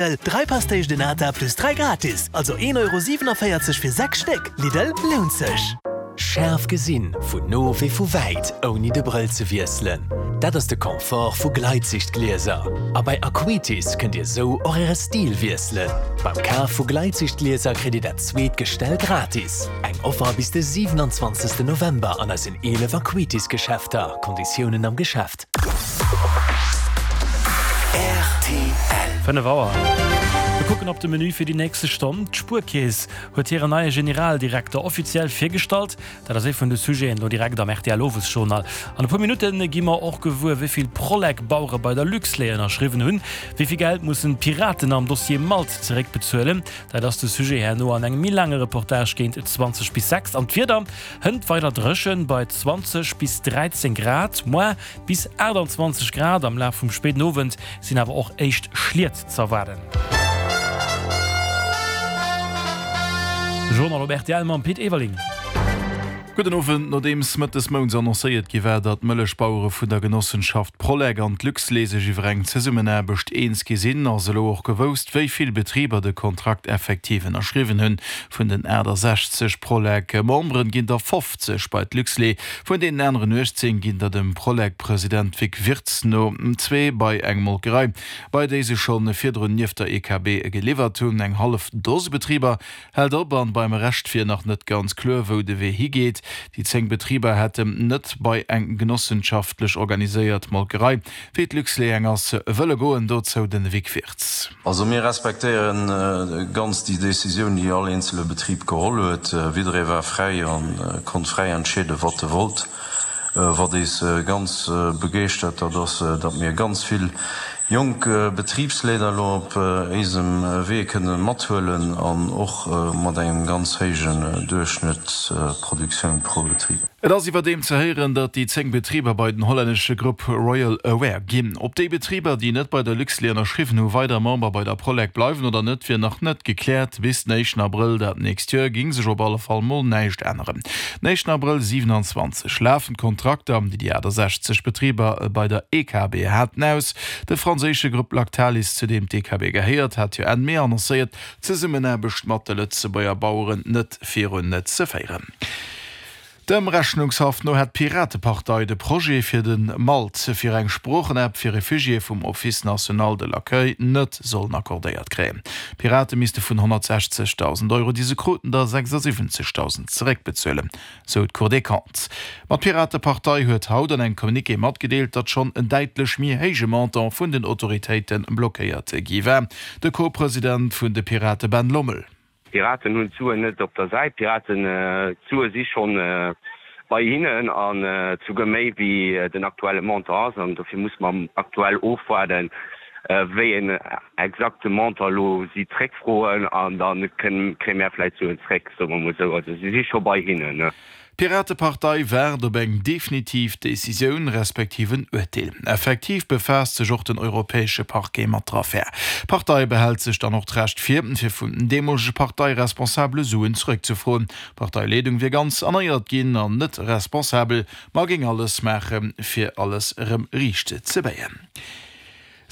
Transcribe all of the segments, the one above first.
3 Pastéis de Nata plus 3 gratis, also 1,47 Euro fir 6 Stéck. Lidl, lount sech! Schaarf gesinn, vun no wéi vu wäit, ouni de Brëll ze wiesselen, dat ass de Confort vu Gleitsichtglieser. A bei Acuitis kënnt Dir sou och Äre Stil wiesselen. Beim Kaf vu Gleitsichtglieser kritt Dir dat zweet Gestell gratis. Eng Offer bis de 27 November an eisen 11 Acuitis Geschäfter, Konditiounen am Geschäft. Rtl. 5 Auer. Mir kucken op de Menü fir déi nächste Stonn. D'Spuerkeess huet hiren neie Generaldirekter offiziell virgestallt. Dat ass ee vun de Sujeten elo direkt am rtl Owesjournal. An e puer Minutte gi mer och gewuer, wéi vill Prolec-Bauere bei der Luxlait ënnerschriwwen hunn. Wéi vill Geld mussen d'Piraten am Dossier Malt zeréckbezuelen? Dat ass de Sujet herno an engem méi laange Reportage géint 20 bis 6. An d'Wieder? Hënt weider dréchen bei 20 bis 13 Grad, moar bis 28 Grad. Am Laf vum spéiden Owend sinn awer och éischt Schliet z'erwaarden. De Journal op rtl mam Pit Everling. Gudden Owend. Nodeems Mëtt des Mounts annoncéiert gi war, datt d'Mëllechbauere vun der Genossenschaft Prolec an d'Luxlait sech iwwer eng Zesummenaarbecht eens gi sinn, ass elo och gewousst, wéi vill Betriber de Kontrakt effektiv ënnerschriwwen hunn. Vun den 68 Prolec-Memberen ginn der 50 bei d'Luxlait, vun deenen aneren 18 ginn der dem Prolec-President Vic Wirtz no zwee bei eng Molkerei, bei déi se scho virdrun nieft der EKB geliwwert hunn. Eng hallef Dose Betriber hält op an beim Rescht wier nach net ganz kloer, wou de Wee higeet. Déi 10 Betriber hätten net bei eng genossenschaftlech organiséiert Molkerei, wéi d'Luxlait eng ass, wëlle goen. Dozou de Vic Wirtz. Also mir respektéiere ganz déi Décisioun, déi all eenzele Betrib geholl huet. Jidderee war fräi a konnt fräi entscheeden, wat e wollt. Wat eis ganz begeeschtert, dat ass, datt mir ganz vill jonk Betribsleeder elo op éisem Wee kënne mathuelen an och mat engem ganz héijen Duerchschnëttsproduktioun pro Betrib. Et ass iwwerdeem ze héieren, datt déi 10 Betriber bei den hollännesche Grupp Royal Aware ginn. Ob déi Betriber, déi net bei der Luxlait ënnerschriwwen hu, weider Member bei der Prolec bleiwen oder net, wier nach net gekläert. Bis den éischten Abrëll dat nächst Joer géing sech op alle Fall mol näischt änneren. Den éischten Abrëll 27 lafen d'Kontrakter, déi déi 68 Betriber bei der EKB haten, aus. De franséische Grupp Lactalis, zu deem d'EKB gehéiert, hat jo Enn Mee annoncéiert, d'Zesummenaarbecht mat de Lëtzebuerger Baueren net virun ze féieren. Dem Rechnungshaff no hätt d'Piratepartei de Projet fir de Malt fir eng Sproochenapp fir Refugiéë vum Office national de l'accueil net sollen accordéiert kréien. D'Pirate misste vun 160.000 Euro, déi se kruten, der 76.000 zeréckbezuelen, sou d'Cour des Comptes. Ma d'Piratepartei huet haut an engem Communiqué matgedeelt, datt schonn en däitlech méi héije Montant vun den Autoritéite blockéiert gi war. De Co-President vun de Pirate Ben Lommel. D'Piraten hunn d'Suen net op der Säit. D'Piraten, d'Sue si schonn bei hinnen an souguer méi wéi den aktuelle Montant ass. An dofir musse mer aktuell ofwaarden, wéi een exakte Montant elo si zréckfroen an da kréie mär vläicht d'Suen zréck, soe mer emol esou. Also si si scho bei hinnen. D'Piratepartei waart op eng definitiv Decisioun, respektiv en Urteel. Effektiv befaasst sech och den europäesche Parquet mat der Affär. D'Partei behält sech dann och d'Recht vir, fir vun den deemolege Parteiresponsabele Suen zeréckzefroen. D'Parteileedung wier ganz erneiert ginn an net responsabel, ma géing alles maache fir alles erëm riicht ze béien.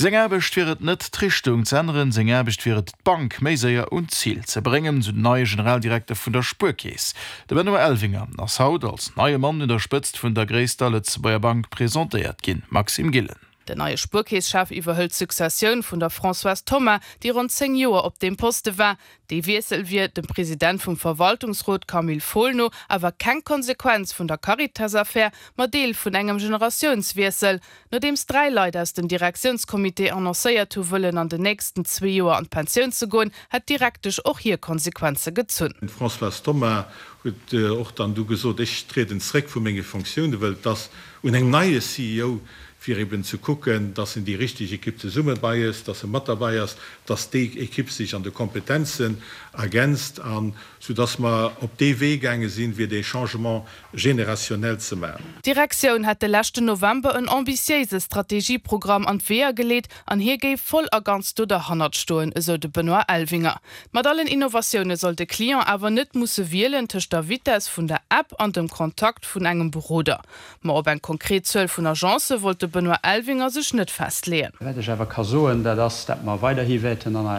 Seng Aarbecht wier et net, d'Richtung z'änneren, seng Aarbecht wier et, d'Bank méi séier un d'Zil ze bréngen, sou den neie Generaldirekter vun der Spuerkeess. De Benoît Elvinger ass haut als neie Mann un der Spëtzt vun der gréisster Lëtzebuerger Bank presentéiert ginn. Maxime Gillen. Den neie Spuerkeesschef iwwerhëlt d'Successioun vun der Françoise Thoma, déi ronn 10 Joer op deem Poste war. Dee Wiessel wier, dem President vum Verwaltungsrot Camille Fohl no, awer keng Konsequenz vun der Caritas-Affär, ma Deel vun engem Generatiounswiessel. Nodeems 3 Leit aus dem Direktiounscomité annoncéiert hu wëllen an den nächsten zwee Joer an d'Pensioun ze goen, hätt d'Direktesch och hir Konsequenze gezunn. D'Françoise Thoma huet och dann du gesot, ech trieden zréck vu menge Fonctiounen, well et ass un engem neie CEO fir eben ze kucken, dass en déi richteg Ekipp zesumme bei ass, dass e mat derbei ass, dass déi Ekipp sech an de Kompetenzen ergänzt an soudass mer op dee Wee gaange sinn, fir dee Changement générationnel ze maachen. D'Direktioun hätt de leschten November en ambitiéise Strategieprogramm an d'Weeër geleet an hie géif voll a ganz do derhannert stoen, esou de Benoît Elvinger. Mat allen Innovatioune soll de Client awer net musse wielen tëscht der Vitess vun der App an dem Kontakt vun engem Beroder. Ma op eng konkret Zuel vun Agencë wollt de. de Benoît Elvinger sech net festleeën. Wat ech awer ka soen, dat ass, dat mer weiderhi wäerten an eis.